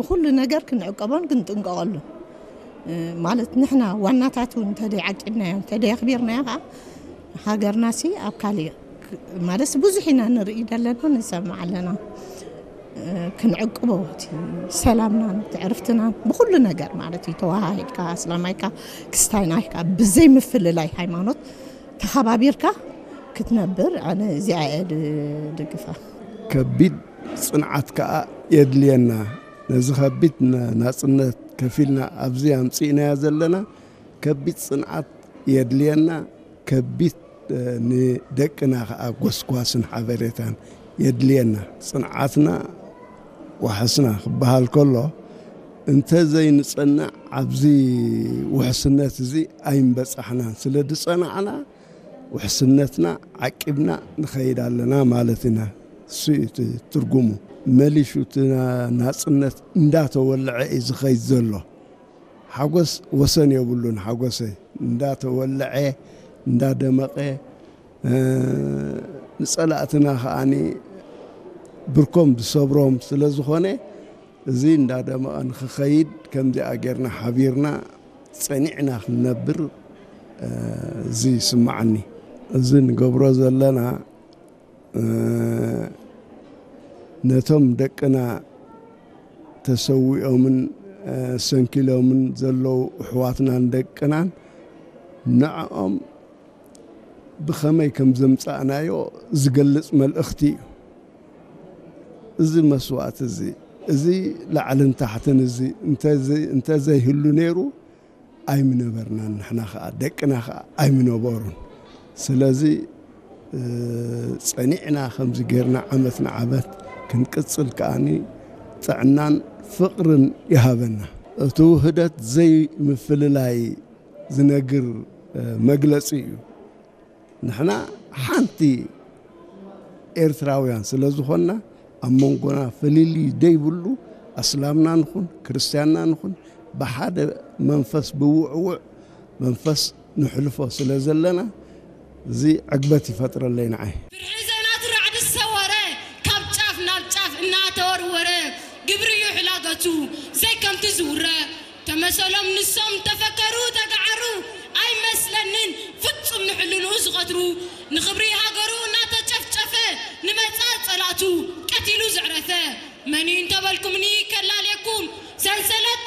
ብኹሉ ነገር ክንዕቀቦን ክንጥንቀቐሉ ማለት ንሕና ዋናታት እውን እንተደይ ዓቂብናዮ እንተደይ ኣኽቢርናዮ ከዓ ሃገርና ሲ ኣብ ካሊእ ማለት ብዙሕ ኢና ንርኢ ዘለና ንሰምዕ ኣለና። ክንዕቅቦ እቲ ሰላምናን ትዕርፍትናን ብኩሉ ነገር ማለት እዩ። ተዋሃሂድካ፣ እስላማይካ፣ ክስታይናይካ ብዘይ ምፍልላይ ሃይማኖት ተኸባቢርካ ክትነብር ኣነ እዚኣ እየ ድግፋ። ከቢድ ጽንዓት ከኣ የድልየና። ነዚ ከቢድ ናጽነት ከፊልና ኣብዚ ኣምጺእናዮ ዘለና ከቢድ ጽንዓት የድልየና። ከቢድ ንደቅና ከኣ ጎስጓስን ሓበሬታን የድልየና። ጽንዓትና ዋሕስና ክበሃል ከሎ እንተ ዘይንጸንዕ ኣብዚ ውሕስነት እዚ ኣይምበጻሕናን። ስለ ዝጸናዕና ውሕስነትና ዓቂብና ንኸይድ ኣለና ማለት ኢና። እሱ እዩ እቲ ትርጉሙ። መሊሹ እቲ ናጽነት እንዳተወልዐ እዩ ዝኸይድ ዘሎ። ሓጎስ ወሰን የብሉን። ሓጎሰይ እንዳተወልዐ እንዳደመቐ ንጸላእትና ከኣኒ ብርኮም ዝሰብሮም ስለ ዝኾነ እዚ እንዳደመቐ ንክኸይድ ከምዚኣ ጌርና ሓቢርና ጸኒዕና ክንነብር እዚ ይስማዓኒ። እዚ ንገብሮ ዘለና ነቶም ደቅና ተሰዊኦምን ሰንኪሎምን ዘለዉ ኣሕዋትናን ደቅናን ንዕኦም ብኸመይ ከም ዘምጻእናዮ ዝገልጽ መልእኽቲ እዩ። እዚ መስዋእቲ እዚ እዚ ላዕልን ታሕትን እዚ እንተዘይህሉ ነይሩ ኣይምነበርናን። ንሕና ከዓ ደቅና ከዓ ኣይምነበሩን። ስለዚ ጸኒዕና ከምዚ ጌርና ዓመት ንዓመት ክንቅጽል ከኣኒ ጥዕናን ፍቕርን ይሃበና። እቲ ውህደት ዘይምፍልላይ ዝነግር መግለጺ እዩ። ንሕና ሓንቲ ኤርትራውያን ስለ ዝኾንና ኣብ መንጎና ፍልልይ ደይብሉ ኣስላምና ንኹን ክርስትያንና ንኹን ብሓደ መንፈስ ብውዕውዕ መንፈስ ንሕልፎ ስለ ዘለና እዚ ዕግበት ይፈጥረለይ ንዓይ። ፍርሒ ዘይናቱ ራዕዲ ዝሰወረ ካብ ጫፍ ናብ ጫፍ እናተወርወረ ግብሪ እዩ ሕላገቱ ዘይከምቲ ዝውረ ተመሰሎም ንሶም ተፈከሩ ተጋዓሩ ኣይመስለንን ፍጹም ንሕልንኡ ዝቐትሩ ንኽብሪ ሃገሩ እናተጨፍጨፈ ንመጻ ጸላእቱ ቀቲሉ ዘዕረፈ መን እዩ እንተበልኩምኒ ከላልየኩም ሰንሰለት